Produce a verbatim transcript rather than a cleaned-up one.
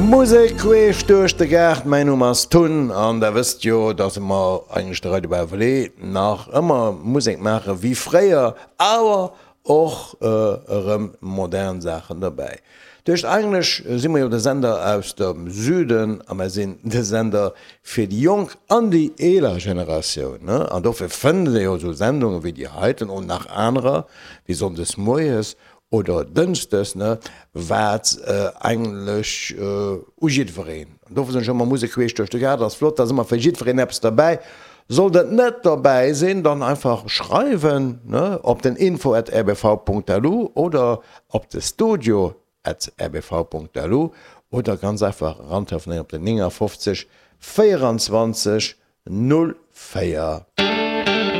Musek queesch duerch de Gaart, mäin Numm ass Tun an der wësst jo, dass mer eigentlech de Radio Bauvelé nach ëmmer Musek maache wéi fréier, awer och erëm modern Saachen derbäi. Duerch eigentlech si mer jo de Sender aus dem Süden a mer sinn de Sender fir déi jonk an déi eeler Generatioun, ne? An dofir fënnt ee jo esou Sendunge wéi déi heiten und nach anerer, wéi sonndes moies oder dënschdes, ne, wat eigentlech u jiddwereen. An dofir soen ech ëmmer, Musek queesch duerch de Gaart ass flott, da ass ëmmer fir jiddwereen eppes derbäi. Sollt et net derbäi sinn, dann einfach schreiwen, ne, op den info at rbv punkt lu oder op de studio at rbv punkt lu oder ganz einfach erantelefonéieren op den neunundfünfzig vierundzwanzig null vier.